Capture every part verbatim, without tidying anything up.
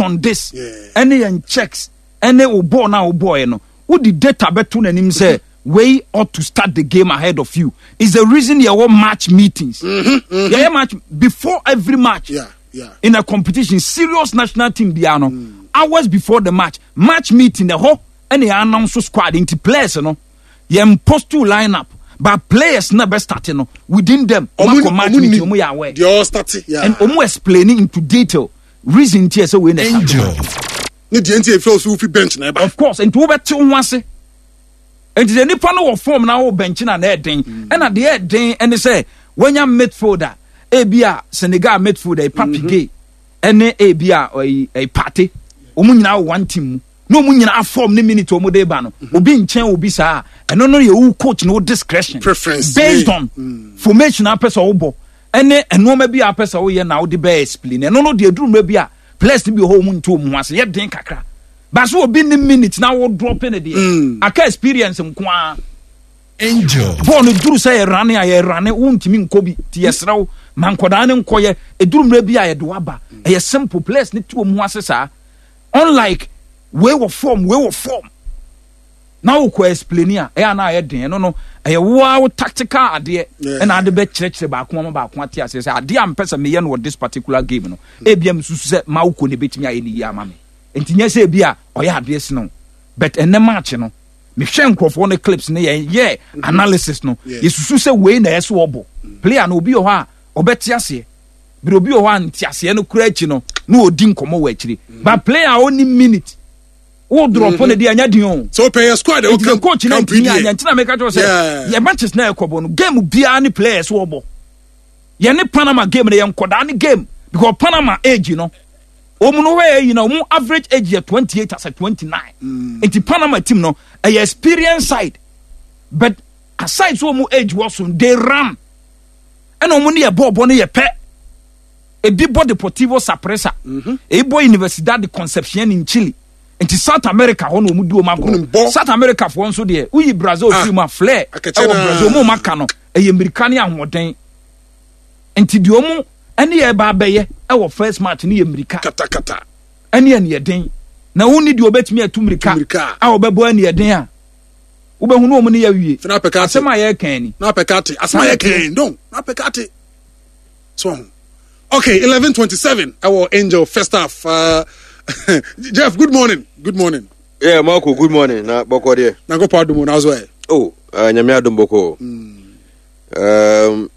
on this Yeah. ɛne yɛn checks ɛne wo ball na wo bɔɔl no, wodi data bɛto n'anim sɛ wei ought to start the game ahead of you. Is the reason yɛwɔ match meetings. Yɛyɛ match before every match Yeah, yeah. in a competition, serious national team biara no, hours before the match, match meeting ɛhɔ ɛna yɛ announce squad. Nti players no, yɛn post to line up, but players na bɛ start no, within them ɔmo akɔ match meeting, ɔmo yɛ aware Deɛ ɔstart, yeah. and ɔmo explain into detail reason ti yɛ sɛ wei na start. Angel. Ne deɛ nti efiri osu fi bench na ɛba. Of course, nti wobɛte wo ho ase. Nti sɛ nipa no wɔ form na wo bench na na ɛden, ɛna deɛ ɛden ɛne sɛ wanya midfielder, ebi a Senegal midfielder Pape Gueye ɛne ebi a ɔyi ɛyi Partey, wɔn nyinaa wɔ one team mu na wɔn nyinaa form ne minute wɔn de ba no, obi nkyɛn obi saa, ɛno no yɛ wo coach no wo discretion Preference. based Yeah. on formation apɛ sɛ wobɔ ɛne nneɛma bi a apɛ sɛ woyɛ na wode bɛyɛ explain. Ɛno no deɛ, duru mmerɛ bi a players no bi wɔ hɔ, wɔn nto wɔn ho ase, yɛ den kakra baso obi ne minute na wo drop ne deɛ aka experience nko ara. Angel. Bɔɔl no duru sɛ yɛrane a yɛrane, wontumi nkɔ bi nti yɛserɛ wo ma nkɔdaa ne nkɔyɛ. Ɛduru mmerɛ bi a yɛde waba, ɛyɛ simple, players ne te wɔn ho ase saa, unlike wei wɔ form, wei wɔ form na wokɔ explain a ɛyɛ ana ayɛ den. Ɛno no ɛyɛ woa wo tactical adeɛ Yeah. ɛna ade bɛkyerɛkyerɛ baako ama baako ate aseɛ sɛ adeɛ a mpɛ sɛ meyɛ no wɔ this particular game no, ebia mesusu sɛ ma wokɔ ne bɛtumi ayɛ ne yie ama me. Nti nyɛ sɛ ebi a ɔyɛ adeɛ sene wo, but ɛnɛ match no, mehwɛ nkurɔfoɔ no clips ne yɛn yɛ analysis no, Yeah. yɛsusu sɛ wei na ɛsɛ ɔbɔ player no. Obi wɔ hɔ a ɔbɛte aseɛ bere, obi wɔ hɔ a nte aseɛ no kura akyi no na ɔdi nkɔmmɔ wɔ akyire, but player a ɔni minute wo drop no deɛ, ɛnyɛ den o. So pɛ yɛ squad Nti the coach na ntumi deɛ. anyɛ ntina meka kyerɛ sɛ Yeah. yɛ matches na ɛkɔbɔ no, game biara ne players wɔbɔ. Yɛne Panama game no, yɛ nkɔdaa ne game because Panama age no, wɔn no hɔ yɛ yi na wɔn average age yɛ twenty eight as twenty nine. Nti Panama team no ɛyɛ experience side, but aside so wɔn age wɔ so, they run ɛna wɔn ne yɛ bɔɔl bɔ no yɛ pɛ. Ebi bɔ Deportivo Saprissa, ebi bɔ Universidad de Concepcion in Chile. Nti South America hɔ na wɔn di wɔn Wɔn bɔ. agorɔ. South America foɔ nso deɛ, woyi Brazil Ah, firi mu a, flair akɛkyɛ ɛwɔ na- Brazil wɔn a aka no ɛyɛ mmirika ne ahoɔden. Nti deɛ wɔn ɛne yɛ ba abɛyɛ ɛwɔ first match ne yɛ mmirika katakata ɛne ɛniɛden, na wɔn ni deɛ ɔbɛtumi atu mmirika Mmirika. a ɔbɛbɔ ɛniɛden a wobɛhu ne wɔn ne yɛ wie. Fina apɛ kate. Asɛm a yɛreka ni. Na apɛ kate asɛm a yɛ kɛn don na apɛ kate so ho. Okay, eleven twenty seven ɛwɔ Angel first half. uh, jeff good morning, good morning. Yeah, Marco, good morning. Na bɔkɔ deɛ? Na nkɔpɔ adumu na so ɛ. Oh, uh, Nyame adom, bɔkɔ. Um,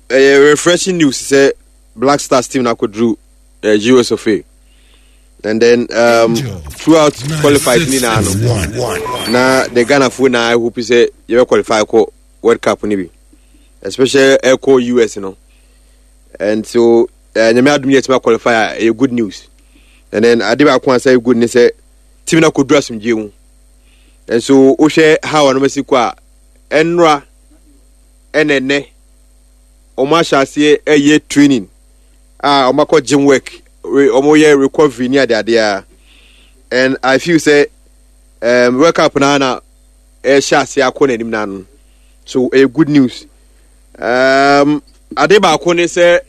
ɛyɛ refreshing news sɛ Black Stars team na akɔduru uh, U S of A. And then um, throughout qualified ni na no. Na the Ghana fo na I hope sɛ yɛbɛ qualify kɔ World Cup ni bi. Especially ɛkɔ U S no. And so uh, Nyame adom yɛ qualify a, ɛyɛ good news. And then ade baako a sɛ ɛyɛ good ne sɛ team na akɔduru asomdwie mu. And so wohwɛ how a no kɔ a, ɛnora ɛna ɛnɛ ɔmo ahyɛ aseɛ ɛyɛ training a ɔmo akɔ gym work, re- ɔmo yɛ recovery ne adeade a, and I feel sɛ um, World Cup naa na ɛhyɛ aseɛ akɔ n'anim n'ano, so ɛyɛ good news. um, ade baako ne sɛ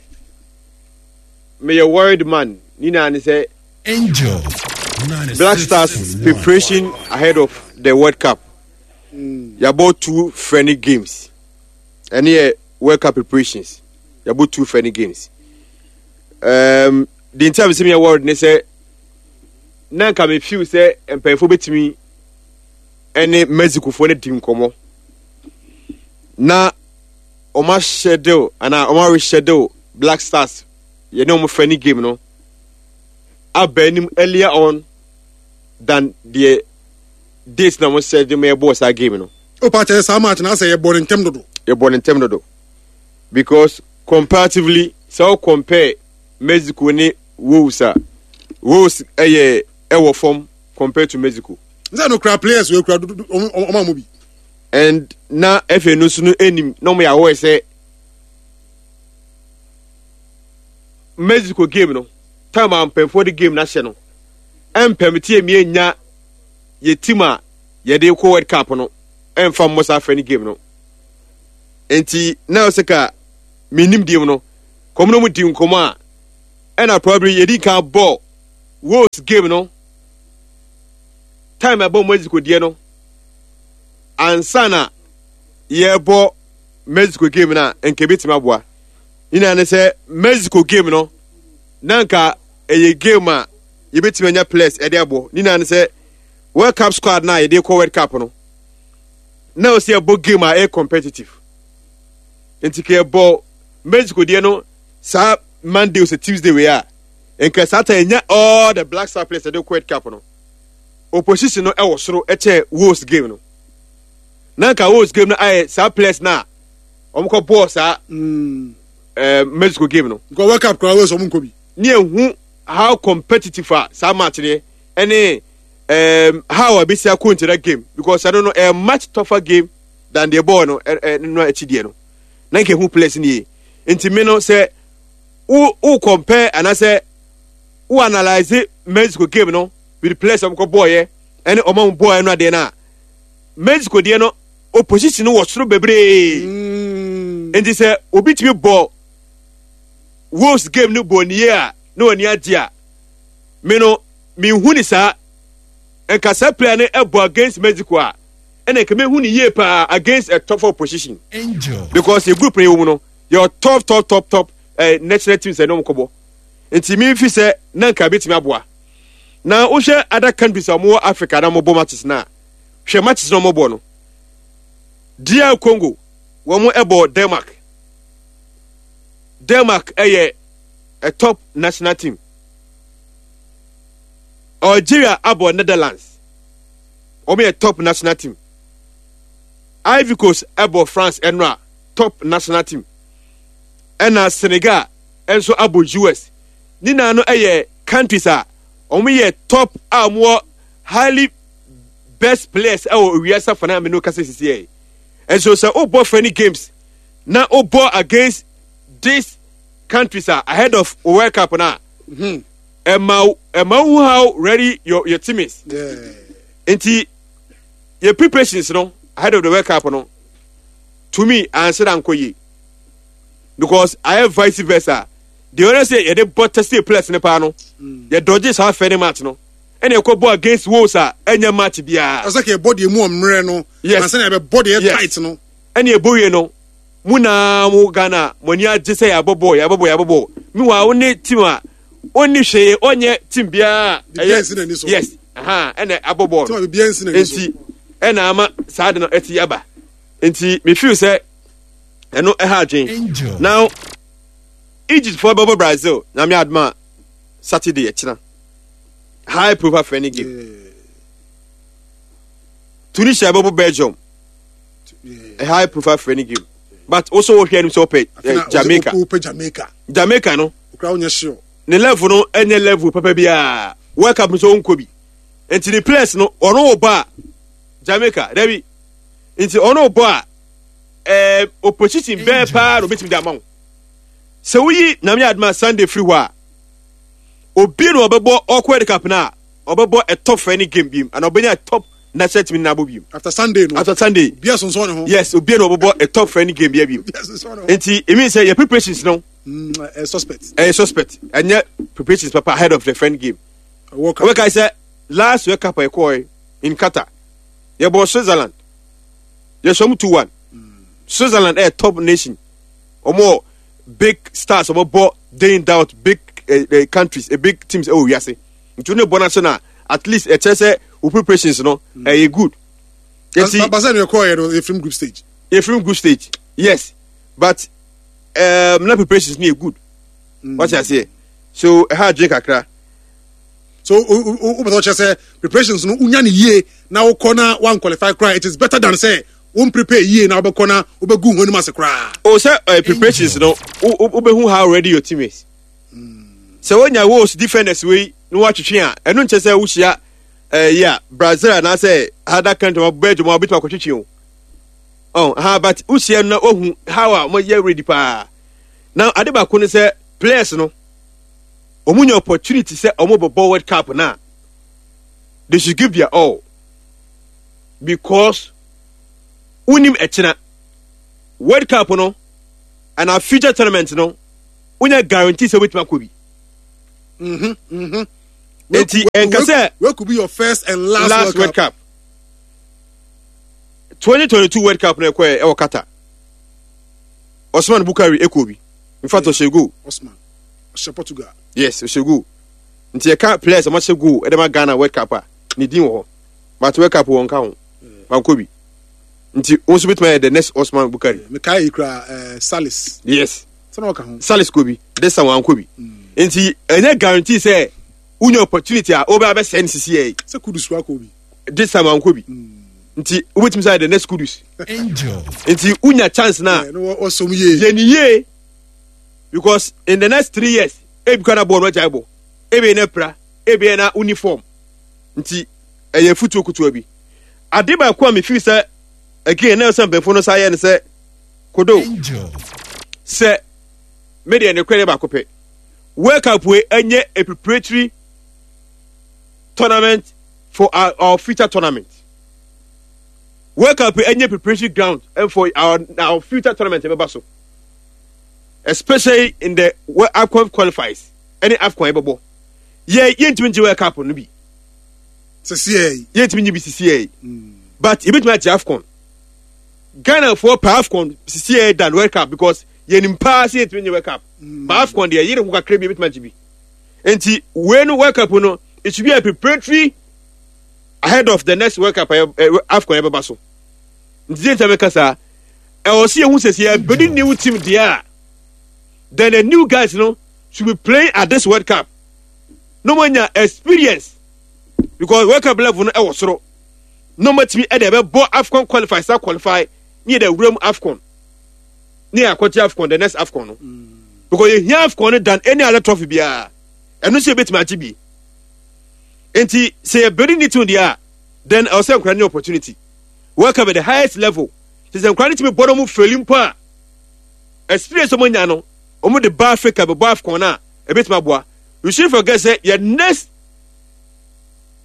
meyɛ worried man ne nyinaa ne sɛ Angel. Black Stars preparation ahead of the World Cup. Yɛabɔ two friendly games. Ɛne yɛ World Cup preparations. Yɛabɔ two friendly games. Um, the nti a mesɛ meyɛ worried ne sɛ na nka me feel sɛ mpanyinfoɔ bɛtumi ɛne Mexicofoɔ no di nkɔmmɔ na ɔmo aschedule anaa ɔmo areschedule Black Stars yɛne ɔmo friendly game no aba anim earlier on than the date na mo sɛ de mo yɛbɔɔ saa game no. O pa kyerɛ saa match na asɛ yɛbɔ ne ntɛm dodo. Yɛbɔ ne ntɛm dodo because comparatively, sɛ wo compare Mexico ne Wales a, Wales ɛyɛ ɛwɔ fam compared to Mexico. Nsɛ no kura players wei kura dodo, ɔmo ɔmo amu bi. And na F A no nso no anim na ɔmo yɛ awɔ sɛ Mexico game no time a mpanyinfoɔ de game no ahyɛ no, ɛmpɛm tie mi enya yɛ team a yɛde kɔ World Cup no ɛnfa mmɔ saa friendly game no. Nti na ɔsɛ ka menim deɛ mu no kɔm no mu di nkɔmɔ a, ɛna probably yɛdi kan bɔ Wales game no time ɛbɔ Mexico deɛ no ansa na yɛbɔ Mexico game no a, nka ebɛtumi aboa. Nyinaa ne sɛ Mexico game no na nka ɛyɛ game a yɛbɛtumi anya players ɛde abɔ. Nyinaa ne sɛ World Cup squad na yɛde kɔ World Cup no na ɔsɛ yɛbɔ game a ɛyɛ competitive, nti ka yɛbɔ Mexico deɛ no saa Monday sɛ Tuesday wei a, nka saa ta yɛnya all the Black Star players ɛde kɔ World Cup no. Opposition no ɛwɔ soro ɛkyɛ Wales game no, na nka Wales game no ayɛ saa players na wɔn kɔ bɔɔ saa Mm. ɛɛ Mexico game no. Because World Cup koraa, Wales ɔmo nkɔ bi. Ne ehu how competitive a saa match ne ɛne um, how a bɛsi akɔ into that game, because ɛno no a much tougher game than the ball no ɛ ɛ no akyi deɛ no, na nka ehu players ne yie. Nti mi no sɛ wo wo compare anaasɛ wo analyse Mexico game no with players a wɔkɔ bɔɔyɛ ɛne ɔmo a wɔn bɔɔyɛ no adeɛ no a, Mexico deɛ no opposition no wɔ soro bebree. Mm. Nti sɛ obi tumi bɔ Wolves game no bɔ nie a na wani agye a, me no mehu ne saa nka saa player no ɛbɔ against Mexico a, ɛna nka mehu ne yie paa against a tougher opposition. Angel. Because yɛ group no yɛ wɔ mu no, yɛ top top top top eh, national teams ɛne wɔn kɔbɔ, nti mi fi sɛ na nka betumi aboa. Na wohwɛ other countries a wɔwɔ Africa na wɔbɔ matches na hwɛ matches na wɔbɔ no, D R Congo wɔn ɛbɔ Denmark. Denmark ɛyɛ a top national team. Algeria abɔ Netherlands, wɔn yɛ top national team. Ivory Coast ɛbɔ France ɛno a top national team, ɛna Senegal nso abɔ U S. Ne nyinaa no ɛyɛ countries a wɔn yɛ top a wɔn wɔ highly best players ɛwɔ wiase afa na amenu kasa sisi yɛ. Nso sɛ wobɔ friendly games na wobɔ against these countries a ahead of World Cup na ɛma ɛma wo how ready your your team is. Yeah. Nti yɛ preparations no ahead of the World Cup no, to me ansa da nkɔ yie, because ayɛ vice versa. Deɛ ɔyɛ sɛ yɛde bɔ test players ne paa no, yɛ dɔgye saa friendly match no ɛna ɛkɔ bɔ against Wolves a ɛnyɛ match biara. Ɔsɛ kɛ ɛbɔ deɛ mu ɔmmerɛ no. Yes. Ansa na yɛbɛbɔ deɛ Yes. tight no. Ɛna ɛbɔ wie no mu naa mo Ghana mo ani agye sɛ yɛabɔ bɔɔl, yɛabɔ bɔɔl, yɛabɔ bɔɔl. Meanwhile, wo ne team a ɔnni hwee, ɔnyɛ team biara a Biribiara nsi n'ani so. Yes, aha ɛna abɔ bɔɔl. Team a biribiara nsi n'ani so. Nti ɛna ama saa de no ɛte aba, nti me feel sɛ ɛno ɛha adwen. Angel. Now Egypt fo bɛbɔ Brazil, Nyame adoma, Saturday ɛkyina, high profile friendly game. Yeah. Tunisia bɛbɔ Belgium, Yeah. a high profile friendly game, but also wɔhwɛ anim sɛ ɔpɛ Afei na eh, Jamaica. wopɛ Jamaica. Jamaica no okura wonyɛ sure. Ne level no ɛnyɛ level papa biara. World Cup nso ɔnkɔ bi, nti ne players no ɔno wɔ bɔ a Jamaica dabi, nti ɔno wɔ bɔ a ɛɛ opposition bɛɛ paa na obetumi de ama wo. Sɛ woyi Nyame adoma Sunday firi hɔ a, obi na ɔbɛbɔ ɔkɔ World Cup na ɔbɛbɔ a top friendly game bi ana ɔbɛnya a top national team na abɔ bi. After Sunday no. After Sunday. Obiara sonsɔn ne ho. Yes, obi na ɔbɛbɔ a top friendly game bi bi. Obiara sonsɔn ne ho. Nti it means sɛ yɛ preparations no Mm, eh, suspect. Ɛyɛ suspect, ɛnyɛ preparations papa ahead of the friendly game. World Cup. Wɔbɛka sɛ last World Cup a yɛkɔɔ in Qatar, yɛbɔ Switzerland, yɛsɔ mu two one. Switzerland ɛyɛ top nation, wɔn big stars, wɔn bɔ day in out, big eh, eh, countries, eh, big teams ɛwɔ wiase. Nti wɔn bɔ n'ase na at least ɛkyerɛ sɛ wo preparations no ɛyɛ good. Nti basa no yɛkɔɔ yɛ no, yɛfirim group stage. Yɛfirim group stage, yes, but um, na preparations no yɛ good. Wɔte aseɛ, so ɛha adwene kakra. So wopɛ sɛ ɔkyerɛ sɛ preparations no wonya ne yie na wokɔ na woanqualify koraa, it is better than sɛ womprepare yie na wobɛkɔ na wobɛgu ho anim ase koraa. O sɛ uh, preparations no, wobɛhu how ready your team is. Sɛ wonya Wolves defenders wei na woatwetwe a, ɛno nkyɛ sɛ wohyia ɛyi a Brazil anaasɛ other country ma Belgium a wobɛtumi akɔtwetwe o. Oh, ha, but wohyia no na wohu how a wɔyɛ ready paa. Na ade baako ne sɛ players no wɔn nya opportunity sɛ wɔn bɛbɔ World Cup na they should give their all, because wonim ɛkyina World Cup no and our future tournament no, wonya guarantee sɛ wobɛtumi akɔ bi. Mhm, mhm. Eti nka sɛ Where could be your first and last, last World Cup. twenty twenty-two World Cup na ɛkɔ ɛwɔ Qatar. Osman Bukari ɛkɔ bi. In fact, ɔhyɛ goal. Osman ɔhyɛ Portugal. Yes, ɔhyɛ goal. Nti yɛka players a wɔahyɛ goal ɛde ma Ghana World Cup a, ne din wɔ hɔ. But World Cup wɔn ka ho. Wankɔ bi. Nti wɔn nso bɛtumi ayɛ the next Osman Bukari. Mekae yi kura uh, Salis. Yes. Sɛ ɔka ho. Salis kɔ bi. This time wankɔ bi. Nti ɛnyɛ guarantee sɛ wonya opportunity a wobɛ abɛsɛe no sisi yɛ yi. Sɛ Kudus kura kɔ bi. This time wankɔ bi. Nti wobɛtumi sɛ ayɛ the next Kudus. Angel. Nti wonya chance na Yeah, no ɔsɔm yie. Yɛ ni yie, because in the next three years ebi kora na bɔɔl no agyae bɔ, ebi na pra, ebi na uniform. Nti ɛyɛ futuo kutuo bi. Ade baako a mefi sɛ again na sɛ mpanyinfoɔ no sa yɛ no sɛ kodo Angel. Sɛ me deɛ ne kora baako pɛ, World Cup wei ɛnyɛ a preparatory tournament for our, our future tournament. World Cup wei ɛnyɛ preparatory ground and for our our future tournament ɛbɛba so, especially in the Wo- AFCON qualifiers ɛne AFCON ɛbɛbɔ. Yɛ yɛntumi ngye World Cup no bi. Sɛ yɛ yi. Yɛntumi nye bi sisi yɛ, but yɛbɛtumi agye AFCON. Ghana foɔ pɛ AFCON sisi yɛ than World Cup, because yɛnim paa sɛ yɛntumi nye World Cup, but AFCON deɛ, yɛre ho kakra bi, yɛbɛtumi agye bi. Nti wei no, World Cup no, it should be a preparatory ahead of the next World Cup, ɛyɛ ɛ AFCON yɛbɛba so. Nti sɛ nkyɛn bɛka saa, ɛwɔ sɛ yɛhu sɛ sɛ yɛbɛdi new team deɛ a, then the new guys no should be playing at this World Cup no mo nya experience, because World Cup level no ɛwɔ soro na ɔmo atumi ɛde ɛbɛbɔ AFCON qualify sa qualify ne yɛ de awura mu AFCON ne yɛ akɔgye AFCON, the next AFCON no, because yɛhia AFCON no than any other trophy biara. Ɛno nso yɛbɛtumi agye bi. Nti sɛ yɛbɛdi ne team deɛ a, then ɛwɔ sɛ nkora ne opportunity World Cup at the highest level. Sɛ sɛ nkora ne tumi bɔ no, ɔmo fɛli mpo a, experience ɔmo nya no, ɔmo de ba Africa bɛbɔ AFCON a, ɛbɛtumi aboa. You shouldn't forget sɛ yɛ next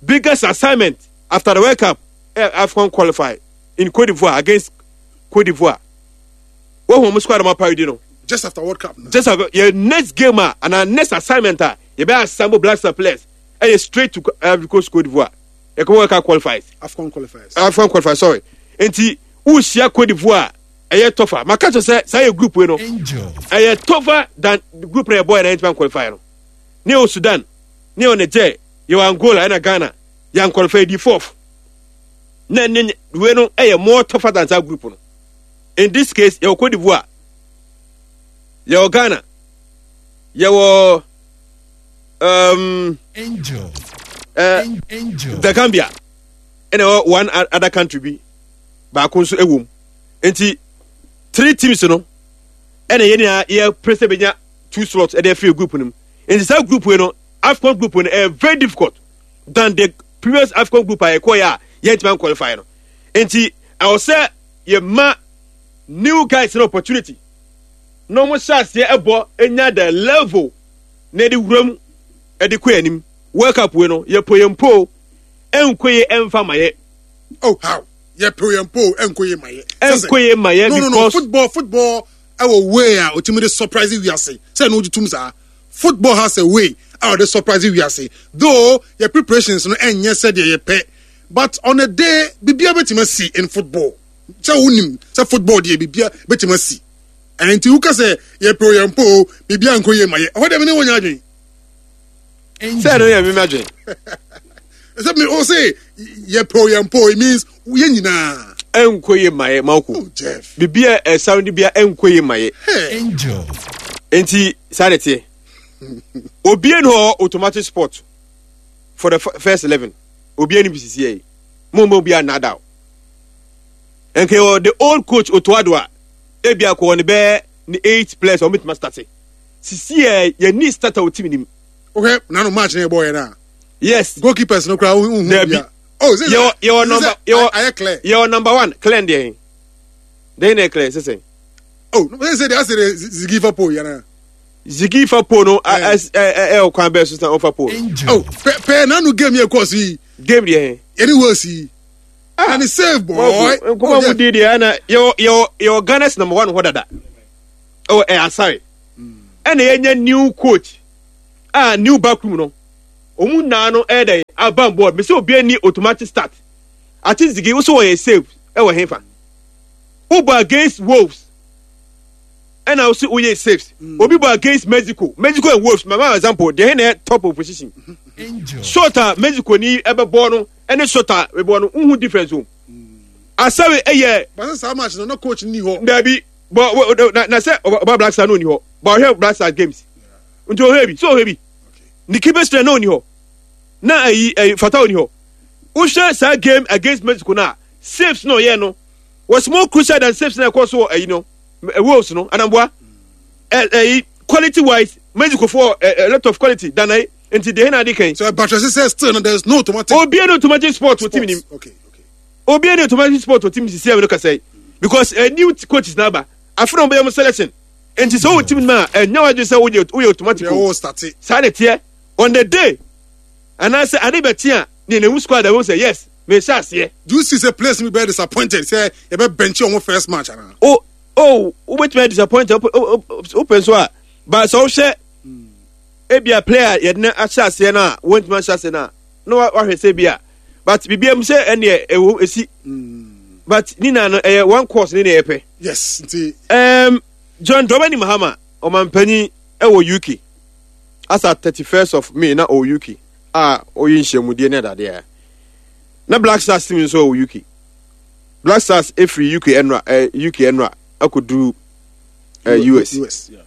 biggest assignment after the World Cup, eh, AFCON qualify in Cote d'Ivoire, against Cote d'Ivoire. Wɔn wɔn squad ɔmo apari di no. Just after World Cup no. Just after yɛ next game a ana next assignment a yɛbɛ assemble Black Star players ɛyɛ straight to Ivory Coast, Cote d'Ivoire. Yɛkɔ World Cup qualifiers. AFCON qualifiers. AFCON qualifiers, sorry. Nti wuhyia Cote d'Ivoire, ɛyɛ tougher. Maka kyerɛ sɛ saa yɛ group wei no Angel. ɛyɛ tougher than the group na yɛbɔ yɛ na yɛntumi qualify no. Ne yɛ Sudan, ne yɛ Niger, yɛ Angola ɛna Ghana. Yɛn qualify di fourth na ne wei no ɛyɛ more tougher than that group no. In this case, yɛwɔ Cote d'Ivoire, yɛwɔ Ghana, yɛwɔ um, Angel. uh, Angel. The Gambia, ɛna ɛwɔ one o- other country bi baako nso ɛwɔ mu. Nti three teams no ɛna yɛn nyinaa yɛ pere sɛ bɛnya two slots ɛde afiri group no mu. Nti saa group yi no, AFCON group no, ɛyɛ very difficult than the previous AFCON group a yɛkɔ yɛ a yɛntumi qualify no. Nti ɛwɔ sɛ yɛma new guys no opportunity na wɔn hyɛ aseɛ ɛbɔ enya the level na ɛde wura mu ɛde kɔ anim. World Cup wei no, yɛpo yɛn po, ɛnkɔ yɛ, ɛnfa ma yɛ. Oh, how yɛ po yɛn po, ɛnkɔ yɛ ma yɛ? Ɛnkɔ yɛ ma yɛ. No, no, no. Because Football, football ɛwɔ way a otimi de surprise wiase sɛ ɛno wogye tum saa. Football has a way a ɔde surprise wiase, though yɛ preparations no ɛnyɛ sɛdeɛ yɛpɛ, but on a day bibia bɛtumi asi in football. Sɛ wonim sɛ football deɛ, bibia bɛtumi asi. Ɛnti woka sɛ yɛpɛ o yɛn po o, bibia nkɔ yie ma yɛ, ɛhɔ deɛ me ne wɔnyɛ adwene. Sɛ ɛno yɛ mímí adwene. Sɛ me o se yɛpɛ o yɛn po, it means yɛn nyinaa. Ɛnkɔ yɛ ma yɛ mako. Oh, Jeff. Bibi a ɛsan de bia ɛnkɔ yɛ ma yɛ. Hey. Angel. Nti saa de teɛ, obie no hɔ automatic spot for the f- first eleven, obie no bi sisi yɛ mo mo obi anada o. Nke wɔ the old coach Otto Addo a, ebi akɔ wɔ ne bɛɛ ne eight players a wɔn bɛtuma start sisi yɛ, yɛ ni starter wɔ team nim. Wohwɛ nano match na yɛbɔɔyɛ no a, yes goalkeepers no koraa wohu Dabi. bia. Oh, sɛ yɛwɔ yɛwɔ number yɛwɔ ayɛ clear. Yɛwɔ number one clear deɛ den na yɛ clear sisan. Oh, no, sɛ deɛ asɛ de Ziggy fa pole yana. Zigi fa pole no, Eh. ɛ ɛ ɛ ɛ kwan bɛɛ so san ɔfa pole no. Angel. Oh, pɛ pɛ nano game yɛ kɔɔ so yi. Game deɛ. Yɛne Wales yi. And he save boy. Nkɔmɔ Oh, mu Jeff. di deɛ ɛna yɛwɔ yɛwɔ yɛwɔ Ghana's number one hɔ dada, ɛwɔ ɛ Asare, ɛna yɛnya new coach a new backroom no. Ɔmu naa no ɛyɛ dɛ aba board mɛ sɛ obi ani automatic start. Ati zigi woso wɔyɛ save ɛwɔ hefa. Wobɔ against Wolves ɛna woso woyɛ saves. Obi bɔ against Mexico, Mexico and Wolves. Mama example deɛ hɛn na yɛ top opposition. Shot a Mexico ni ɛbɛbɔ no ɛne shot a ɛbɔ no nhu difference o. Asawe ɛyɛ. Basa saa match no na coach ni hɔ. Dabi bɔ na na sɛ ɔba Black Star no ni hɔ bɔ ɔhwɛ Black Star games nti ɔhwɛ bi sɛ ɔhwɛ bi ne keeper strength na ɔni hɔ na ayi ayi fata ɔni hɔ. Wohwɛ saa game against Mexico na saves na ɔyɛ no was more crucial than saves na ɛkɔ so wɔ ayi no Wolves no anamboa ɛ ɛyi quality wise Mexico for a, a lot of quality than ayi nti deɛ na adi kan. So Batra sɛ still no there is no automatic. Obiara no automatic sport wɔ team nim. Okay okay. Obiara no automatic sport wɔ team sisi ɛwɔ kasa yi because a new coaches na aba afei na ɔbɛyɛ mo selection nti sɛ ɔwɔ team mu a ɛnyɛ wadwi sɛ woyɛ woyɛ automatic o saa na teɛ on the day anaasɛ ade bɛ te a ne na ewu squad ɛwɔ sɛ yes mɛ ehyɛ aseɛ. Do you see say players mi bɛ disappointed sɛ yɛ bɛ bench wɔn first match ana. O o wobɛtumi ayɛ disappointed wopɛ nso a ba sɛ wohwɛ ebia player yɛde no ahyɛ aseɛ no a wɔntumi ahyɛ aseɛ no a na wahwɛ sɛ ebia but biribiara mu sɛ ɛneɛ ɛwɔ esi but ne na no ɛyɛ one course ne na yɛpɛ. Yes nti. Um, John Dramani Mahama ɔmanpanyin ɛwɔ U K asa thirty first of May na ɔwɔ U K a ɔyɛ nhyiamudie ne adadeɛ na Black Stars team nso ɛwɔ U K. Black Stars efiri U K ɛnora ɛ U K ɛnora akɔduru ɛ U S. U S, yeah.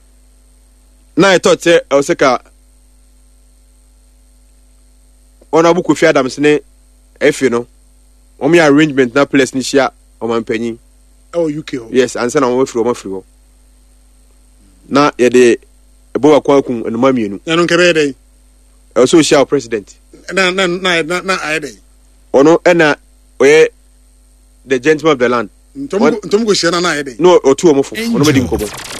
Na ɛtɔ sɛ ɛwɔ sɛ ka Honorable Kofi Adams ne efe no wɔn yɛ arrangement na players ne hyia ɔmanpanyin. Ɛwɔ U K hɔ. Yes, ansa na wɔn afiri wɔn afiri hɔ. Na yɛde ɛbɔ baako akun nnoma mmienu. Na no nkɛbɛyɛ dɛ. Ɛwɔ sɛ ohyia o president. Na na na na na ayɛ dɛ. Ɔno ɛna ɔyɛ the gentleman of the land. Ntom ntom ko hyia na na ayɛ dɛ. No ɔtu wɔn fo ɔno bɛ di nkɔmɔ.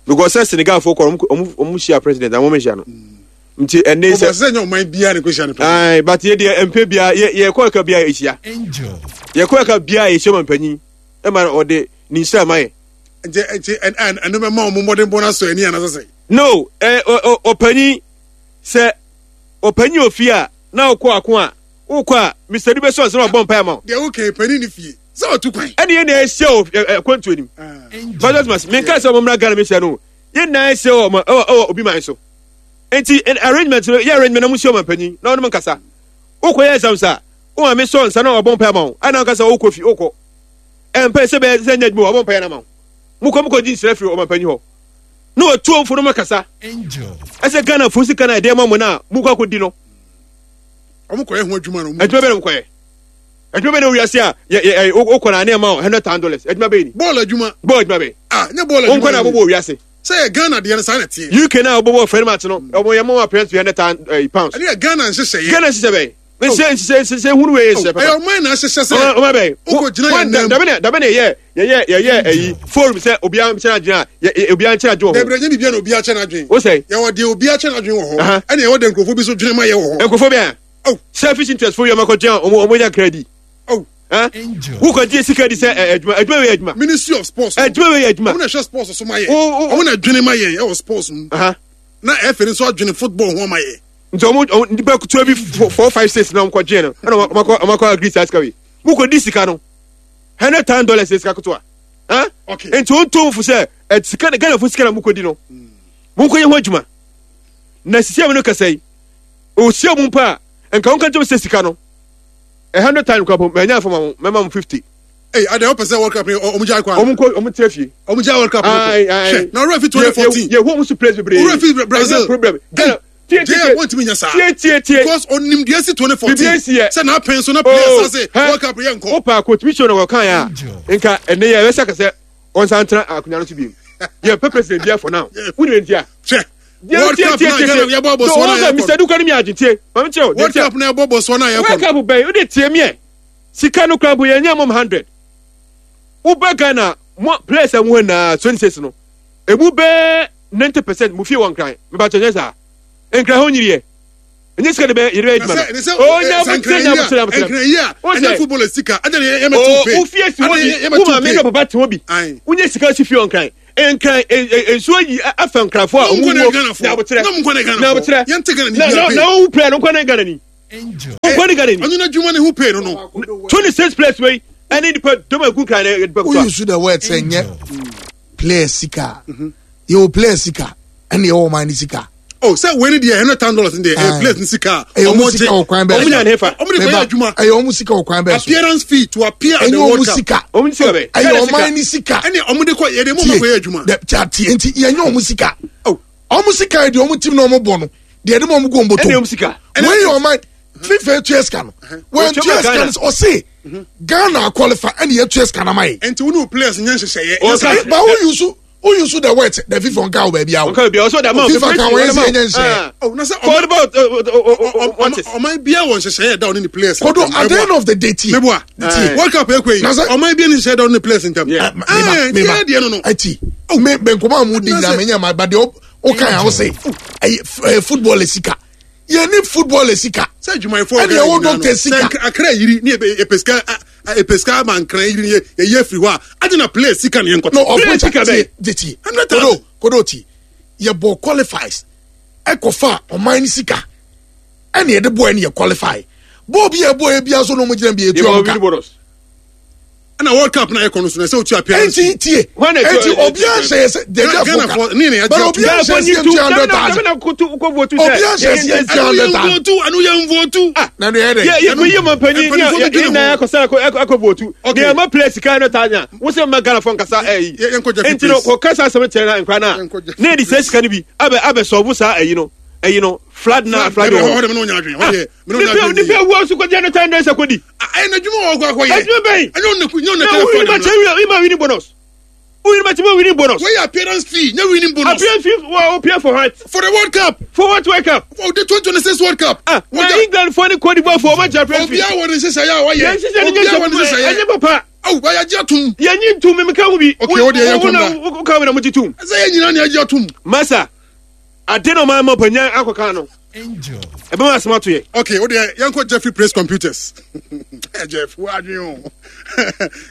Because sɛ Senegal fo kɔ ɔmo ɔmo hyia president na wɔn hyia no. Nti ɛnne sɛ. Ɔbɔ sɛ nyɛ ɔman biara ne ko hyia no president. Ayi but yɛ deɛ mpe bia yɛ yɛ kɔ ɛka bia ehyia. Yɛ kɔ ɛka bia ehyia ma mpanyin ɛma ɔde ne nhyira ma yɛ. Nti nti ɛn ɛn ɛno bɛ ma ɔmo mmɔden bɔ n'asɔ ani anasɛ sɛ. No ɛ ɔ ɔpanyin sɛ ɔpanyin ofie a na ɔkɔ ako a wokɔ a Mister Du bɛ sɔn sɛ ɔbɔ mpa ma o. Deɛ wokɛ panyin ne fie sɛ ɔtu kwan. Ɛne yɛn na ɛhyɛ o ɛ kwantu anim. Bàtà tuma mi nka sɛ ɔmo mmra Ghana mi hyɛ no yɛn na ɛhyɛ ɔmo ɛwɔ ɛwɔ obi man so. Nti arrangement no yɛ arrangement na mo hyɛ ɔmo mpanyin na ɔmo nkasa. Wokɔ yɛ exams a wo maame sɔ nsa na ɔbɔ mpa ma wo ɛna nkasa wokɔ fi wokɔ. Ɛmpɛ sɛ bɛyɛ sɛ nyɛ adwuma ɔbɔ mpa yɛ na ma wo. Mo kɔ mo kɔ di nsira firi ɔmo mpanyin hɔ. Na wɔtu ɔmfo no mo kasa. Ɛsɛ Ghana fo sika na ɛdeɛ ma mo na mo kɔ akɔdi no. Ɔmo kɔ yɛ ho adwuma no. Adwuma bɛyɛ na mo kɔ yɛ. Adwuma bɛyɛ na wiase a yɛ yɛ wokɔ na ne ma hundred thousand dollars. Adwuma bɛyɛ ni. Bɔɔl adwuma. Bɔɔl adwuma bɛyɛ. Ah, nye bɔɔl adwuma. Wɔn kɔ na abobɔ wiase. Sɛ yɛ Ghana deɛ no saa na teɛ. U K na abobɔ friend match no. Ɔmo yɛ mo appearance hundred thousand pounds. Ɛne yɛ Ghana nhyehyɛ yɛ. Ghana nhyehyɛ bɛyɛ. Nhyehyɛ nhyehyɛ nhyehyɛ hunu wei nhyehyɛ papa. Ɛyɛ ɔman na ahyehyɛ sɛ. Ɔman bɛyɛ. Wokɔ gyina yɛn nan mu. Dabe na dabe na yɛ yɛ yɛ yɛ ɛyi forum sɛ obiara nkyɛn adwene a yɛ obiara nkyɛn adwene wɔ hɔ. Dabe nye biribiara na obiara kyɛn adwene. O sɛ. Yɛwɔ deɛ obiara kyɛn adwene wɔ hɔ. Ɛna yɛwɔ deɛ nkurɔfoɔ bi so dwene ma yɛ wɔ hɔ. Nkurɔfoɔ bi a. Selfish interest fo yɛ ɔmo akɔgyina ɔmo ɔmo nya kra di. Wokɔ gye sika di sɛ adwuma adwuma wei adwuma. Ministry of Sports. Adwuma wei adwuma. Ɔmo na ɛhwɛ sports so ma yɛ. Ɔmo na dwene ma yɛn ɛwɔ sports mu. Na ɛfɛ nso adwene football ho ma yɛ. Nti ɔmo ɔmo nipa kutuwa bi four five six na ɔmo kɔ gye no ɛna ɔmo akɔ ɔmo akɔ agree saa sika wei. Mo kɔ di sika no hundred thousand dollars sika kutuwa. Nti wɔn tó fo sɛ ɛ sika Ghana fo sika na mo kɔ di no. Mo nkɔ yɛ ho adwuma. Na sisi a mo no kasa yi osia mu mpa a nka wɔn ka kyerɛ sɛ sika no a hundred thousand kura po mɛ nya fama mo mɛ ma mo fifty. Ee adi a wɔpɛ sɛ World Cup ni ɔmo gya akɔ. Ɔmo nkɔ ɔmo tẹ fie. Ɔmo gya World Cup ni kɔ. Hwɛ na ɔwura fi twenty fourteen. Yɛ hu ɔmo so players bebree. Ɔwura fi Brazil. Ɛnyɛ problem. Ghana tie tie tie. Wɔn ti mi nya saa. Tie tie tie. Because onim deɛ si twenty fourteen. Bibi esi yɛ. Sɛ n'apɛn so na players ase World Cup yɛ nkɔ. O pa coach mi sɔ na wɔkan ya nka ɛnɛ yɛ ɛbɛsɛ kasɛ ɔnsan tena akonnwa no so bi yɛ pɛ president bia for now. Wúni ntia. Hwɛ. World Cup na Ghana yɛ bɔ Botswana yɛ kɔ. Mister Duka ni mi agye tie. Maame kyerɛ o. World Cup na yɛ bɔ Botswana yɛ kɔ. World Cup bɛn o de tie miɛ. Sika no kura bo yɛ nyɛ mom hundred. Wo bɛ Ghana mo players a mo na twenty six no. Emu bɛ ninety percent mo fie wɔ Nkran. Me ba kyerɛ saa. Nkran ho nyiri yɛ. Enye sika de bɛ yɛ de bɛ adwuma no. O nya mo tie nya mo tie mo tie. Nkran yi a ɛnyɛ football sika. Ɛnyɛ yɛ mɛ tu pe. O fie si wo bi. Wo maame ne papa te wo bi. Wo nye sika si fie wɔ Nkran. Nkran nsuo yi afa nkrafo a ɔmo wuo na abotrɛ na abotrɛ na na owu player no nkɔ ne Ghana ni nkɔ ne Ghana ni. Ɔno na adwuma ne ho pay no no. twenty six players wei ɛne nipa dɔm egu nkran ne nipa Who use the word sɛ nyɛ player sika? Yɛwɔ player sika ɛna yɛwɔ ɔman ne sika. Oh, sɛ wei ni deɛ hundred thousand dollars ni deɛ ɛyɛ players ni sika. Ɛyɛ ɔmo sika wɔ kwan bɛɛ Ɔmo nya ne fa. Ɔmo de kɔ yɛ adwuma. Ɛyɛ ɔmo sika wɔ kwan bɛɛ so. Appearance fee to appear at Ɛnyɛ the ɔmo World Cup. sika. Ɔmo sika bɛ. Ɛyɛ ɔman ne sika. Ɛne ɔmo de kɔ yɛ de mo ma kɔ yɛ adwuma. Dɛ- tia tie nti yɛnyɛ ɔmo sika. Oh. Ɔmo sika yɛ deɛ ɔmo team na ɔmo bɔ no deɛ ɛde ma ɔmo gu ɔmo Ɛne ɔmo bɔtɔ. sika. Wei yɛ ɔman FIFA etua sika no. Wɔn Wɔtua tua sika Ghana. no ɔse Ghana qualify ɛna yɛtua sika na ma yɛ. Nti wo ne wo players nyɛ nhyehyɛeɛ. Ɔka- Yɛ sɛ- But who use who use the word the FIFA nka wɔ baabi awo. Ɔka bi ɔsɔ da ma FIFA ka wɔn yɛ sɛ ɛnyɛ nhyehyɛeɛ. Oh, na sɛ Kɔɔdi ɔman bɔ ɔmo ɔman biara wɔ nhyehyɛeɛ da ɔne ne players. Kodo ntam. at the end of the day tie. Meboa. Tie. World Cup ekwe yi. Na sɛ- Ɔman biara ne nhyehyɛeɛ da ɔne ne players ntam. Yeah. Ma- Ah, meba nti meba yɛ deɛ no no. ɛti me me nkɔmɔ a mu di Na nyinaa sɛ- me nyɛ ma ba deɛ o kan a o se ɛyɛ ɛyɛ football sika yɛ ni football sika Sɛ adwumayɛfoɔ ɛna ɛwɔ doctor sika Sɛ Nkra- Akra yiri ne yɛ yɛpɛ sika a- a- yɛpɛ sika ama Nkran yiri ne yɛ yɛyi afiri hɔ a adi na players sika ne yɛn nkɔtɔ. no Player ɔfɔ sika tie bɛn? tie tie Hundred thousand. kodo kodo ti yɛ bɔ qualifies ɛkɔfa ɔman ni sika ɛna yɛde bɔ ɛna yɛ qualify bɔɔl bi yɛ bɔ yɛ bi aso na ɔmo gyina bi yɛ tu ɔmo ka Ɛna World Cup na ɛkɔ no so na ɛsɛ otu appearance. ɛnti tie Hwan na ɛnti ɛtu- obiara nhyɛ yɛ sɛ deɛ Ghana fo fo- ka ne ne yɛ but gye obiara nhyɛ yɛ sɛ two hundred thousand Obiara nhyɛ sɛ Ɛnu yɛn votu ɛnu yɛn votu. na ne yɛ dɛ yɛ yɛ kò yie ma mpanyin Mpanimfoɔ yɛ bi dwene yɛ nan ho. akɔsa akɔ akɔ votu Okay. ní ɛma players sika no ta nya wosɛ mma Ghana fɔ nkasa ɛyi Yɛ- yɛnkɔ Jeffrey nti no Praise. kɔ kasa asɛm kyerɛ na nkura na Yɛnkɔ Jeffrey ne yɛ de sɛ sika no bi abɛ abɛ sɔɔbo saa ɛyi no ɛyi no flood na flood Hɔ wɔ de mi n'o nya adwene hɔ deɛ mi n'o nya nipa adwene. nipa ewu aso kɔgye no tan dɛ sɛ kɔdi Ɛyɛ n'adwuma wɔ ɔkɔ akɔyɛ. adwuma bɛyi Ɛnyɛ ɔne nyɛ ɔne na kɛlɛ wuli fɔ ma de kyɛ wuli ma winning bonus wuli ma kyɛ ma winning bonus Wei yɛ appearance fee nye winning bonus. appear fi wɔ appear for what For the World Cup. for what World Cup For the twenty twenty six World Cup. ah na England fɔ ni Cote d'Ivoire fɔ ɔma kyɛ appear fi Obiara wɔ ne nhyehyɛeɛ a wayɛ. yɛn hyehyɛ ni Obiara wɔ ne nyɛ nhyehyɛeɛ. ɛnyɛ papa Awo wayɛ agye atum. yɛnyi ntum mi ka ho bi Okay, wo deɛ yɛnkɔ mmra. wo ka wo na mo gye tum Ɛsɛ yɛn nyinaa na agye atum. masa ade na ɔman ma panyin akɔka no Angel. ɛbɛma asɛm ato yɛ Okay, o deɛ yɛnkɔ Jeffrey Praise Computers. Eh, Jeff, wo adwene o.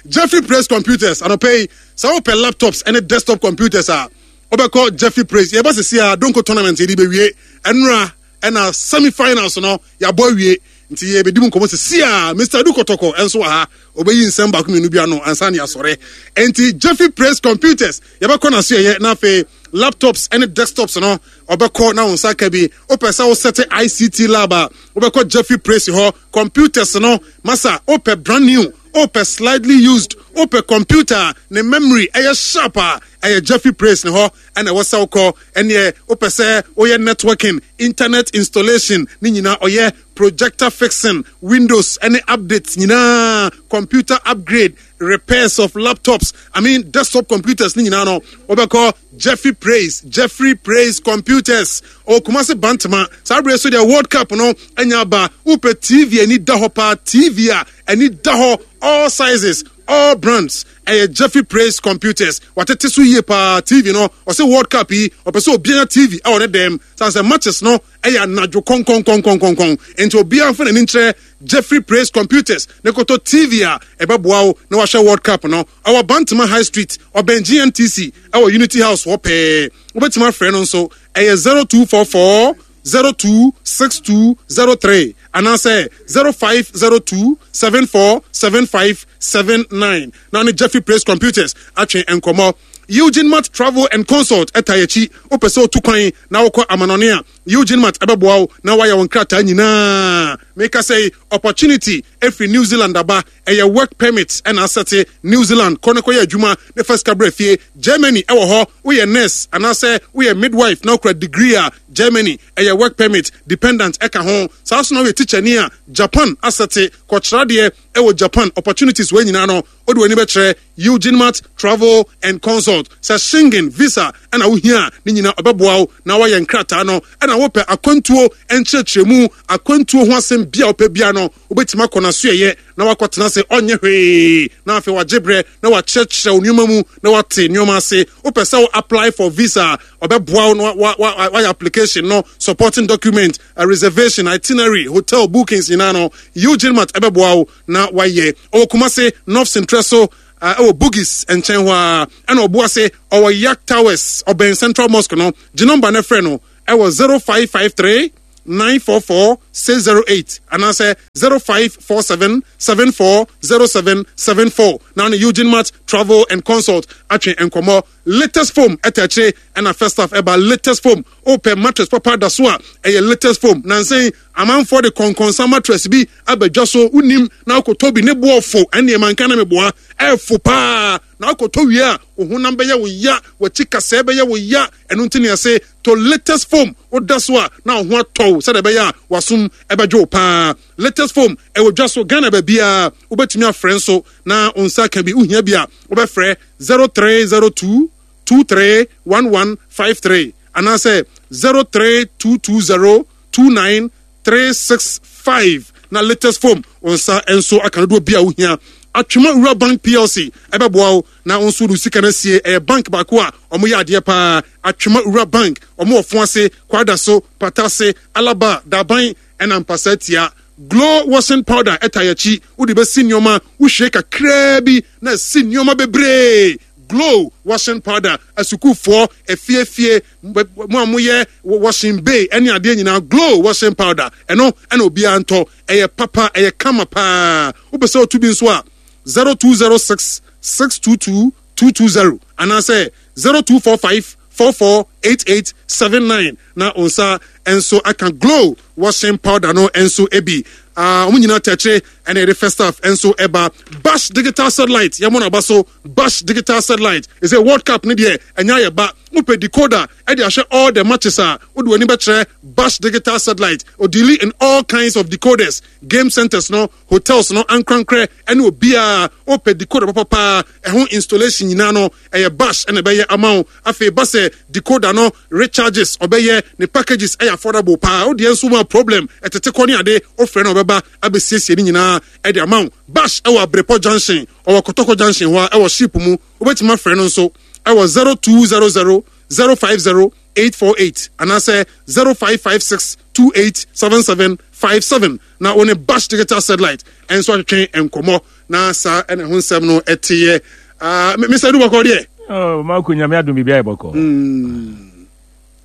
Jeffrey Praise Computers anɔpɛ yi sɛ wopɛ laptops ɛne desktop computers a wobɛkɔ Jeffrey Praise. Yɛba sisi a Donko tournament yɛde bɛwie ɛnora ɛna semi finals no yɛabɔ awie nti yɛbɛdi mu nkɔmmɔ sisi a Mr Adu Kɔtɔkɔ ɛnso wɔ ha ɔbɛyi nsɛm baako mmienu bi ano ansa ne asɔre. Nti Jeffrey Praise Computers yɛbɛkɔ n'aso yɛyɛ na afei laptops ɛne desktops no ɔbɛkɔ na wo nsa ka bi. Wopɛ sɛ wosɛte I C T lab a wobɛkɔ Jeffrey Praise hɔ. Computers no masa wopɛ brand new, wopɛ slightly used, wopɛ computer a ne memory ɛyɛ sharp a ɛyɛ Jeffrey Praise ne hɔ ɛna ɛwɔ sɛ wokɔ. Ɛneɛ wopɛ sɛ woyɛ networking, internet installation ne nyinaa ɔyɛ, projector fixing, Windows ɛne updates nyinaa, computer upgrade, repairs of laptops, I mean desktop computers ne nyinaa no wobɛkɔ Jeffrey Praise. Jeffrey Praise Computers ɔwɔ Kumase Bantama. Saa berɛ so deɛ World Cup no anya aba. Wopɛ T V ani da hɔ paa, T V a ani da hɔ, all sizes, all brands, ɛyɛ Jeffrey Praise Computers. Watete so yie paa. T V no ɔsɛ World Cup yi ɔpɛ sɛ obiara T V ɛwɔ ne dɛm san sɛ matches no ɛyɛ anadwo kɔnkɔnkɔnkɔnkɔn nti obiara mfa n'ani nkyerɛ Jeffrey Praise Computers ne kɔtɔ T V a ɛbɛboa wo na wahyɛ World Cup no. Ɛwɔ Bantama High Street, ɔbɛn G N T C, ɛwɔ Unity House hɔ pɛɛ. Wobɛtumi afrɛ no nso ɛyɛ zero two four four zero two six two zero three anaasɛ zero five zero two seven four seven five seven nine na ne Jeffrey Praise Computers atwe nkɔmmɔ. Eugene Mart Travel and Consult ɛta yɛkyi. Wopɛ sɛ wotu kwan na wokɔ amanɔne a, Eugene Mart ɛbɛboa wo na woayɛ wo nkrataa nyinaa. Meka sɛ opportunity ɛfiri New Zealand aba, ɛyɛ work permit ɛna asɛte New Zealand kɔ ne kɔyɛ adwuma ne fa sika berɛ fie. Germany ɛwɔ hɔ, woyɛ nurse anaasɛ woyɛ midwife na wokura degree a, Germany ɛyɛ work permit, dependent ɛka ho. Saa so na woyɛ teacher a, Japan asɛte kɔkyerɛdeɛ ɛwɔ Japan. Opportunities wɔ nyinaa no wode w'ani bɛkyerɛ Eugene Mart Travel and Consult. Sɛ Schengen visa ɛna wohia a, ne nyinaa ɔbɛboa wo na woayɛ nkrataa no. Ɛna wopɛ akwantuo nkyerɛkyerɛmu, akwantuo ho asɛm bia wopɛ bia no, wobɛtumi akɔ n'asoɛyɛ na wakɔtena ase ɔnyɛ hwee na afei wagye berɛ na wakyerɛkyerɛ wo nneɛma mu na wate nneɛma ase. Wopɛ sɛ wo apply for visa a, ɔbɛboa wo na wa- wa- wayɛ application no, supporting document, a reservation, itinerary, hotel bookings nyinaa no Eugene Mart ɛbɛboa wo na wayɛ. Ɔwɔ Kumase North Central so. Ɛwɔ Bugis nkyɛn hɔ a, ɛna Ɔboase ɔwɔ Yak Towers, ɔbɛn Central Mosque no. Gye number no frɛ no ɛwɔ zero five five three nine four four six zero eight anaasɛ zero five four seven seven four zero seven seven four na ne Eugene Mart Travel and Consult atwe nkɔmɔ. Latest Foam ɛtɛ akyire ɛna first half ɛba. Latest Foam, opɛ mattress papa da so a, ɛyɛ Latest Foam. Nansan amanfoɔ de kɔnkɔnsa mattress bi abɛdwa so, wonim na akɔtɔ bi ne boɔfo ɛnneɛma nka na meboa ɛfo paa na akɔtɔ wie a, wo honam bɛyɛ wo ya, w'akyi kasɛɛ bɛyɛ wo ya. Ɛno nti ne ɛse to Latest Foam, woda so a na wo ho atɔ wo sɛdeɛ ɛbɛyɛ a wasom ɛbɛdwo wo paa. Latest Foam ɛwɔ dwa so Ghana baabiaa. Wobɛtumi afrɛ nso na wo nsa ka bi. Wohia bi a, wobɛfrɛ zero three zero two two three one one five three anaasɛ zero three two two zero two nine three six five na Latest Foam wo nsa nso aka no doɔ bi a wohia. Atwema Wura Bank P L C ɛbɛboa wo na wo nso de sika no asie. Ɛyɛ bank baako a ɔmo yɛ adeɛ paa. Atwema Wura Bank, ɔmo wɔ fo ase, Kwada so, Patase, Alaba, Daban ɛna Mpasa Tia. Glow washing powder ɛta yɛkyi, wode bɛsi nneɛma, wohwie kakraa bi na ɛsi nneɛma bebree. Glow washing powder, asukuufoɔ, efiefie mo a moyɛ washing bay ɛne adeɛ nyinaa, Glow washing powder ɛno ɛna obiara ntɔ. Ɛyɛ papa, ɛyɛ kama paa. Wopɛ sɛ otu bi nso a, zero two zero six six two two two two zero anaasɛ zero two four five four four eight eight seven nine na nsa nso aka Glow washing powder no nso ebi. Wɔn nyinaa tɛkyerɛ ɛna yɛde first half nso ɛba. Bash Digital Satellite, yɛn mo na aba so. Bash Digital Satellite ɛsɛ World Cup ne deɛ ɛnya yɛ ba. Wopɛ decoder ɛde ahyɛ all the matches a, wode w'ani bɛkyerɛ Bash Digital Satellite. Ɔdeal in all kinds of decoders, game centers no, hotels no, ankorankorɛ ɛne obiara. Wopɛ decoder papapaa, ɛho installation nyinaa no, ɛyɛ Bash ɛna ɛbɛyɛ ama wo. Afei ba sɛ decoder no recharges, ɔbɛyɛ ne packages ɛyɛ affordable paa. Wodeɛ nso ma problem ɛtete kɔ ne ade, wofrɛ no, ɔbɛba abɛsiesie ne nyinaa ɛde ama wo. Bash ɛwɔ Abrepɔ Junction, ɔwɔ Kɔtɔkɔ Junction hɔ a ɛwɔ ship mu. Wobɛtumi afrɛ no nso ɛwɔ zero two zero zero zero five zero eight four eight anaasɛ zero five five six two eight seven seven five seven na wo ne Bash Digital Satellite ɛnso atwetwe nkɔmmɔ na saa ɛna ho nsɛm no ɛteyɛ. uh, Mister Dubakɔ deɛ. Oh, Marco, Nyame adom, biribi ayɛ bɔkɔ.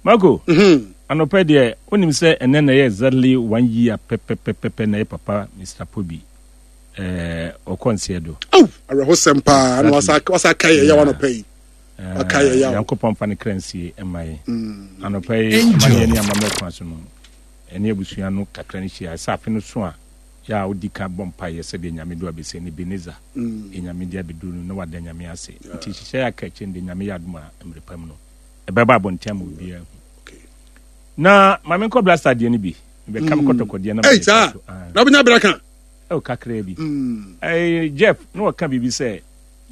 Marco, mm-hmm. anɔpɛ deɛ, wonim sɛ ɛnɛ na ɛyɛ exactly one year pɛpɛpɛpɛ na ɛyɛ papa Mister Pobi eh, ɔkɔ nseɛ do. Oh, awerɛhosɛm paa na wasa wasa ka yɛ yaw anɔpɛ yi. Waka yɛ yaw. Nyankopɔn fa ne kra nsie ɛma yɛ. Anɔpɛ yi, amanneɛ ne amammerɛ kwan so no, ɛne abusua no kakra no hyia sɛ afe no so a yɛ a wodi ka bɔ mpaeɛ sɛdeɛ Nyame do abɛsɛ ne Beneza mm. Nyame de abɛduru no na wada Nyame ase. Nti hyehyɛ yɛ aka akyire no de, Nyame yɛ adom a, mmerɛ pa mu no ɛbɛba abɔnten ama obiara hu. Na maame nkɔ Blaster deɛ no bi bɛka me kɔtɔkɔdeɛ na Ei, saa na wobɛnya berɛ ka. Ɛwɔ kakraa bi. Eh, Jeff na wɔka biribi sɛ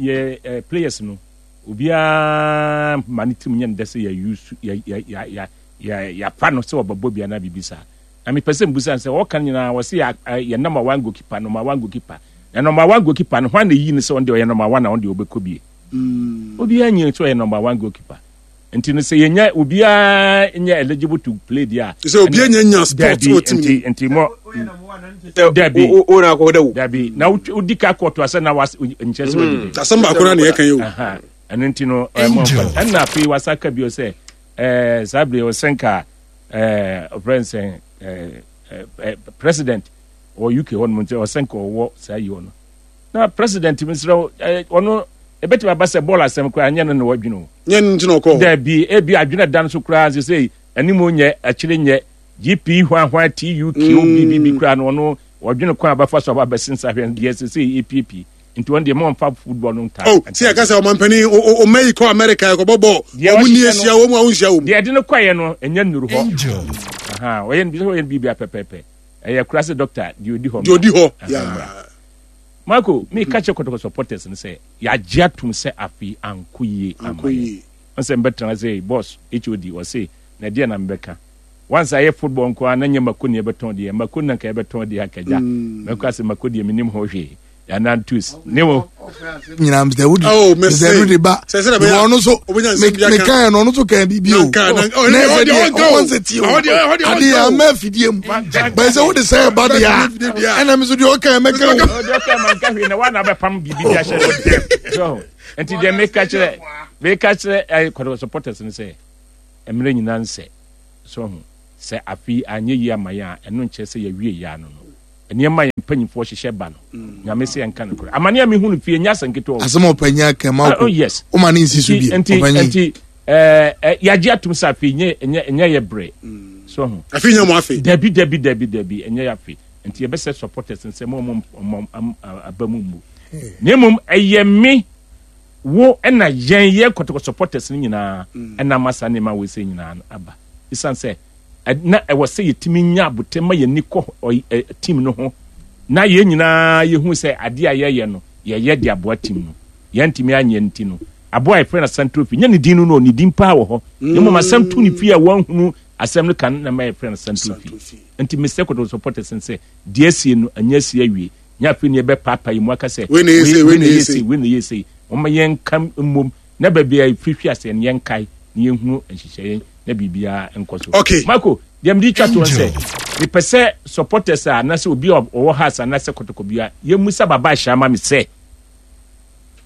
yɛ eh, players no, obiara ma ne tirim nyɛ no dɛ sɛ yɛuse yɛafa no sɛ wɔbɛbɔ bi anaa biribi saa. Na mepɛ sɛ mbusa sɛ wɔka no nyinaa, wɔ sɛ yɛ number one goalkeeper, number one goalkeeper, na number one goalkeeper no, hwan na eyi no sɛ ɔno deɛ ɔyɛ number one na ɔno deɛ ɔbɛkɔ bie? Obiara nyɛ sɛ ɔyɛ number one goalkeeper. Nti no sɛ yɛnya obiara nyɛ eligible to play deɛ a, sɛ obiara nya nya sport wɔ team. Nti nti mo dabi. O na akɔ da wo. Dabi, na wodi ka kɔɔto asɛ na was nkyɛn sɛ wadi bi. Asɛm baako na ne yɛka yi o. Ɛno nti no ɛmɔ nfa. Ɛna afei wasa ka bio sɛ ɛɛ saa bere ɔsɛnka ɛɛ ɔfrɛ nsɛn ɛɛ ɛɛ president wɔ U K hɔ nom, nti ɔsɛnka ɔwɔ saa yi hɔ no na president mi srɛ ɛɛ ɔno ebɛtumi aba sɛ bɔɔl asɛm koraa nyɛ no na wadwene o. Nyɛ no nti na ɔkɔ hɔ. Dabi, ebi adwene da no so koraa sɛ sɛ anim nyɛ akyire nyɛ G P hwan hwan T U Q B B koraa no, ɔno ɔdwene kwan a bɛfa so aba bɛsi nsa hwɛ deɛ sɛ sɛ E P P nti wɔn deɛ mo nfa football no nta. Oh, si ɛka sɛ ɔmampanin ɔma yi kɔ America ɛkɔbɔ bɔɔl, ɔmo ni ahyia wɔn mu a wɔnhyia wɔn mu. Deɛ ɛde no kɔɛ no ɛnyɛ nnuru hɔ, ɔyɛ no bi sɛ ɔyɛ no biribi apɛpɛɛpɛ, ɛyɛ kura sɛ doctor deɛ odi hɔ. Deɛ odi hɔ yaa. Marco, mi ka kyerɛ Kɔtɔkɔ supporters no sɛ yɛagye atum sɛ afei ankɔ yie ama yɛ nsɛ mbɛtena sɛ boss H O D ɔse na ɛdeɛ na mbɛka once ayɛ football nko ara na nyɛ mako ne yɛbɛtɔn deɛ, mako na nka yɛbɛtɔn deɛ akagya mɛkɔ ase mako deɛ menim ho hwee anantus ne wo. Nyinaa Mister Wudi. Oh, mese. Mister Wudi ba. Sɛ- sɛ na bɛyɛ- Ɔno nso obɛnya nsɛm bi aka. meka yɛ no, ɔno nso kan biribi o. Na nka- na- oh, Na ɛne- ɛsɛ ɔde- deɛ ɔnka o. ɔwɔ nsɛ tie o. Ɔde- ɔde- ɔnka Adeɛ o. ama afidie mu. Bɛn sɛ wode sɛ ɛba deɛ a, Afidie deɛ a. ɛna me nso deɛ ɔka yɛ mɛka o. Ɔde ɔka ma nka hwee na wana bɛpam biribi de ahyɛ no dɛm so nti deɛ meka kyerɛ meka kyerɛ ɛyɛ Kɔtɔkɔ supporters no sɛ mmerɛ nyinaa nsɛ so ho sɛ afei anyɛ yie ama yɛn a, ɛno nkyerɛ sɛ yɛwie yɛ ano no. Nneɛma a yɛn mpanyinfoɔ hyehyɛ ba no, Nyame sɛ yɛnka no korɛ, amane a mehu no fie nyɛ asɛm ketewa o. Asɛm a ɔpanyin aka ma Ah, oh, yes. woma ne nsi so nti bi. Nti ɔpanyin. Nti ɛɛ ɛ yagye atum sɛ afei nyɛ nyɛ nyɛ yɛ brɛ so ho. Afei nya mo afei. Dabi, dabi, dabi, dabi, ɛnyɛ yɛ afei. Nti yɛbɛsɛ supporters nsɛ mo ɔmo ɔmo am- aba mu mmu, na mmom ɛyɛ me wo ɛna yɛn yɛ Kɔtɔkɔ supporters no nyinaa ɛna ama saa nneɛma wɔ sɛ nyinaa no aba, esan sɛ ɛ- na ɛwɔ sɛ yɛtumi nya abotɛ ma yɛn ni kɔ ɔy- ɛ, team no ho na yɛn nyinaa yɛhu sɛ adeɛ a yɛyɛ no, yɛyɛ de aboa team no. Yɛntumi anyɛ nti no, aboa a yɛfrɛ no Asɛm Trophy nyɛ ne din no no ne din paa wɔ hɔ, na mmom asɛm to ne fie a wɔnhunu asɛm no ka no na ma yɛfrɛ no Asɛm Trophy. Nti mesɛ Kɔtɔkɔ supporters n sɛ deɛ asie no anyɛ asie awie, nyɛ afei ne yɛbɛpaapa yi mu aka sɛ wei na ɛyɛ sei, wei na ɛyɛ sei. Wei na ɛyɛ sei. Wɔma yɛnka mmom na baabi a yɛfiri hwe aseɛ no yɛnkae na yɛnhunu nhyehyɛeɛ na biribiara nkɔ so. Okay. Marco, deɛ mede twa toɔ sɛ mepɛ sɛ supporters a anaasɛ obi a ɔwɔ Hearts anaasɛ Kɔtɔkɔ bia yɛmmusa Baba ahyia ma me sɛ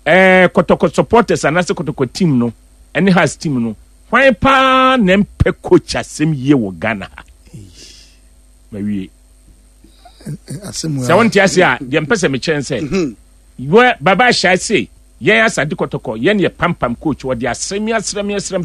ɛɛ Kɔtɔkɔ supporters anaasɛ Kɔtɔkɔ team no ɛne Hearts team no, hwan paa na mpɛ coach asɛm yie wɔ Ghana ha? Mawie. Asɛm sɛ wonte ase a, deɛ mpɛ sɛ mekyerɛ sɛ wɔ Baba ahyia se yɛn Asante Kɔtɔkɔ yɛn yɛ pampam coach, wɔde asɛm asrɛm asrɛm.